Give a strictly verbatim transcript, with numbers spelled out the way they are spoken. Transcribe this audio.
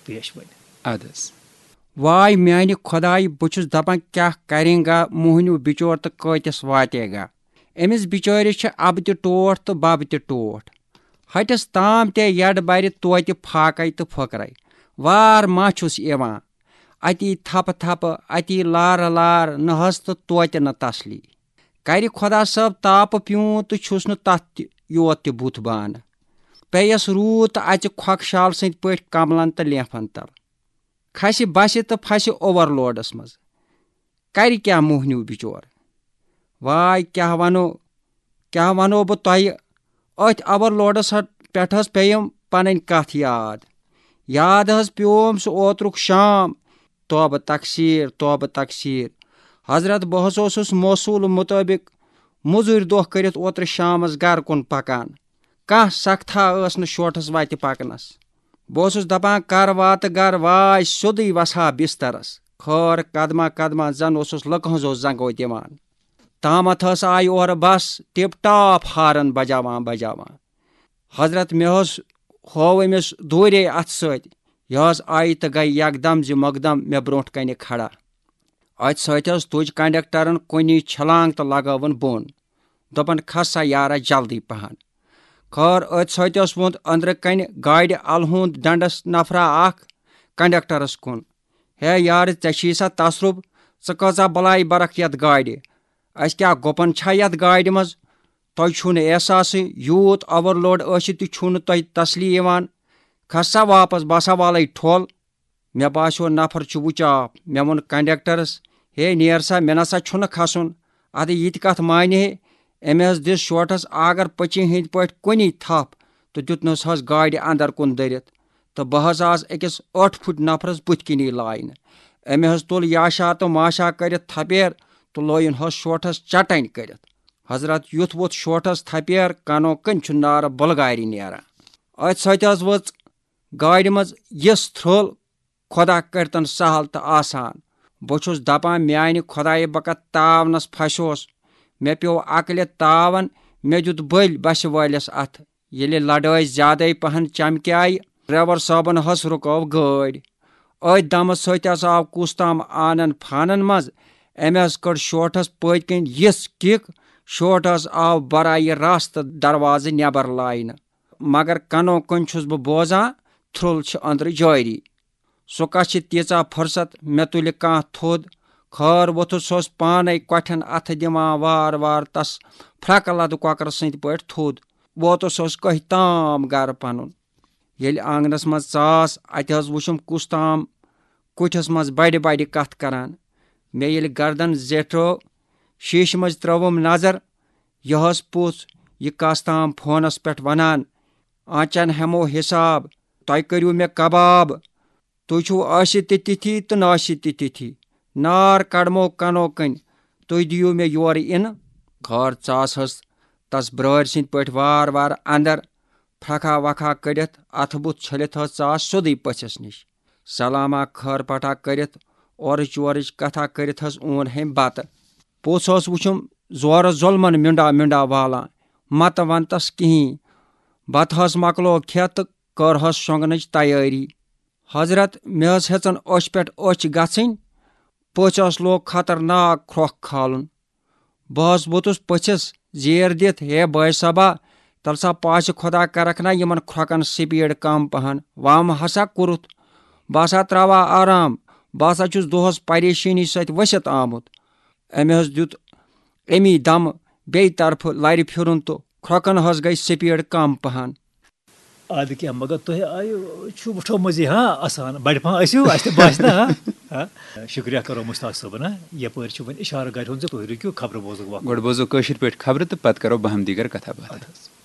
پیش وۄنۍ۔ اَدٕ حظ۔ واے میانہِ خۄدایہِ، بہٕ چھُس دَپان، کیٛاہ کَریں گا موہنیو بِچور تہٕ کۭتِس واتہِ گا؟ أمِس بِچٲرِس چھِ اَبہٕ تہِ ٹوٹھ تہٕ بَبہٕ تہِ ٹوٹھ۔ ہَٹِس تام تہِ یَڈ بَرِ توتہِ پھاکَے تہٕ پھٔکرَے۔ وار ما چھُس یِوان؟ اَتی تھپہٕ تھپہٕ، اَتی لارٕ لارٕ، نہ حظ تہٕ توتہِ نہٕ تسلی۔ کَرِ خۄدا صٲب تاپہٕ پیوٗنت تہٕ چھُس نہٕ تَتھ تہِ یوت تہِ بُتھ بانہٕ۔ پیٚیَس روٗد تہٕ اَژِ کھۄکہٕ شال سٕنٛدۍ پٲٹھۍ کملن تہٕ لینفن تل۔ کھسہِ بسہِ تہٕ پھسہِ اوور لوڈس منٛز۔ کَرِ کیٛاہ موہنیو بِچور؟ واے کیٛاہ وَنو، کیٛاہ وَنو بہٕ تۄہہِ؟ أتھۍ اوور لوڈس ہٹ-، پٮ۪ٹھ حظ پیٚیِم پنٕنۍ کتھ یاد۔ یاد حظ پیوم سُہ اوترُک شام۔ توبہٕ تقصیر، توبہٕ تقصیر۔ حضرت، بہٕ حظ اوسُس موصول مطٲبق مٔزوٗرۍ دۄہ کٔرِتھ اوترٕ شامس گرٕ کُن پکان۔ کانٛہہ سختھا ٲس نہٕ شوٹھس وتہِ پکنس۔ بہٕ اوسُس دپان، کر واتہٕ گرٕ واے، سیوٚدُے وسہٕ ہا بسترس۔ خٲر قدمہ قدمہ زن اوسُس لُکہٕ ہٕنٛزو زنگو دِوان۔ تامتھ ٲس آیہِ اورٕ بس ٹپ ٹاپ ہارن بجاوان بجاوان۔ حضرت، مےٚ حظ ہوو أمِس دوٗرے اَتھٕ سۭتۍ۔ یہِ حظ آیہِ تہٕ گٔے یکدم زِ مقدم مےٚ برونٛٹھ کنہِ کھڑا۔ أتھۍ سۭتۍ حظ تُج کنڈکٹرن کُنی چھلانگ تہٕ لگٲوٕن بۄن۔ دوٚپُن، کھس سا یارا جلدی پہن۔ خٲر، أتھۍ سۭتۍ حظ ووٚن أنٛدرٕ کنہِ گاڑِ الہٕ ہُنٛد ڈنڈس نفرا اکھ کنڈکٹرس کُن۔ ہے یارٕ، ژےٚ چھی سا تصرُف؟ ژٕ کۭژاہ بلاے برکھ یتھ گاڑِ؟ اسہِ کیٛاہ گُپن چھا یتھ گاڑِ منٛز؟ تۄہہِ چھُو نہٕ احساسٕے، یوٗت اوور لوڈ ٲسِتھ تہِ چھُو نہٕ تۄہہِ تسلی یِوان۔ کھس سا واپس، بہٕ ہسا والَے ٹھۄل۔ مےٚ باسیو نفر چھُ وُچاپ۔ مےٚ ووٚن کنڈکٹرس، ہے نیر سا، مےٚ نسا چھُنہٕ کھسُن۔ ادٕ یہِ تہِ کتھ مانہِ ہے؟ أمۍ حظ دِژ شوٹھس آگر پٔچہِ ہٕنٛدۍ پٲٹھۍ کُنی تھپھ تہٕ دیُتنس حظ گاڑِ اندر کُن دٔرِتھ۔ تہٕ بہٕ حظ آس أکِس ٲٹھ پھٕٹۍ نفرس بُتھِ کِنی لاینہٕ۔ أمۍ حظ تُل یاشا تہٕ ماشا کٔرِتھ تھپیر تہٕ لویُن حظ شوٹھس چٹنۍ کٔرِتھ۔ حضرت، یُتھ ووٚتھ شوٹھس تھپیر، کنو کنۍ چھُ نارٕ بُلغارِ نیران۔ أتھۍ سۭتۍ حظ ؤژھ گاڑِ منٛز یِژھ تھرٛل، خۄدا کٔرتن سہل تہٕ آسان۔ بہٕ چھُس دپان، میانہِ خۄدایہِ، بہٕ کتھ تاونس پھسیوس۔ مےٚ پیوٚو عقلہِ تاون، مےٚ دیُت بٔلۍ بسہِ وٲلِس اتھٕ۔ ییٚلہِ لڑٲے زیادے پہن چمکیایہِ، ڈرائیور صٲبن حظ رُکٲو گٲڑۍ۔ أتھۍ دمہٕ سۭتۍ حظ آو کُس تام آنن فانن منٛز۔ أمۍ حظ کٔڑ شوٹھس پٔتۍ کِنۍ یِژھ کِک، شوٹھ حظ آو برایہِ راستہٕ دروازٕ نٮ۪بر لاینہٕ۔ مگر کنو کنۍ چھُس بہٕ بوزان، تھرٛل چھِ أنٛدرٕ جٲری۔ سُہ کتھ چھِ تیٖژاہ فرصت، مےٚ تُلہِ کانٛہہ تھوٚد۔ خٲر ووٚتھُس، سُہ اوس پانے کۄٹھٮ۪ن اتھٕ دِوان وار وار تس پھرکہٕ لدٕ کۄکرٕ سٕنٛدۍ پٲٹھۍ تھوٚد۔ ووتُس اوس کٔہۍ تام گرٕ پنُن۔ ییٚلہِ آنگنس منٛز ژاس، اتہِ حظ وُچھُم کُس تام کُٹھِس منٛز بڑِ بڑِ کتھ کران۔ مےٚ ییٚلہِ گردن زیٹھرٲو، شیٖشہٕ منٛز ترٲوٕم نظر، یہِ حظ پوٚژھ، یہِ کس تام فونس پٮ۪ٹھ ونان، آنچن ہٮ۪مو حساب، تۄہہِ کٔرِو مےٚ کباب۔ تُہۍ چھِو ٲسِتھ تہِ تِتھی تہٕ نہٕ ٲسِتھ تہِ تِتھی۔ نار کڑمو کنو کنۍ، تُہۍ دِیِو مےٚ یورٕ اِنہٕ۔ خٲر ژاس حظ تس برٲرۍ سٕنٛدۍ پٲٹھۍ وار وار اندر، پھرکھا وکھا کٔڑِتھ، اتھٕ بُتھ چھٔلِتھ حظ ژاس سیوٚدُے پٔژھِس نِش۔ سلامہ خٲر پٹھا کٔرِتھ، اورٕچ یورٕچ کتھا کٔرِتھ حظ اون ہیٚمۍ بتہٕ۔ پوٚژھ اوس وُچھُم زورٕ ظۄلمن مِنڈا مِنڈا والان، متہٕ ونتس کِہیٖنۍ۔ بتہٕ حظ مۄکلو کھٮ۪تھ تہٕ کٔر حظ شۄنٛگنٕچ تیٲری۔ حضرت، مےٚ حظ ہیٚژن أچھ پٮ۪ٹھ أچھ گژھٕنۍ۔ پٔژھۍ حظ لوگ خطرناک کھرٛۄکھ کھالُن۔ بہٕ حظ ووٚتُس پٔژھِس زیر دِتھ، ہے بٲے صٲبا، تَلہٕ سا پاسہِ خۄدا کرکھ نا یِمن کھرٛۄکن سپیٖڈ کم پہن، وم ہسا کوٚرُتھ۔ بہٕ ہسا تراوٕ ہا آرام، بہٕ ہسا چھُس دۄہس پریشٲنی سۭتۍ ؤسِتھ آمُت۔ أمۍ حظ دیُت اَمی دمہٕ بیٚیہِ طرفہٕ لرِ پھِرُن تہٕ کھرٛۄکن حظ گٔے سپیٖڈ کم پہن۔ ادٕ کیٛاہ، مگر تۄہہِ آیہِ چھُ وٕٹھٲومٕژ یہِ، ہاں، آسان۔ بڑِ پہن ٲسِو، اَسہِ تہِ باسہِ نہ، ہاں؟ ہاں؟ شُکریہ کرو مُشتاق صٲبن، ہاں؟ یپٲرۍ چھُ وۄنۍ اِشارٕ گرِ ہُنٛد زِ تُہۍ رُکِو، خبرٕ بوزُک وقت۔ گۄڈٕ بوزو کٲشِر پٲٹھۍ خبرٕ تہٕ پتہٕ کرو باہم دیٖگر کتھا باتھا۔ اَدٕ حظ۔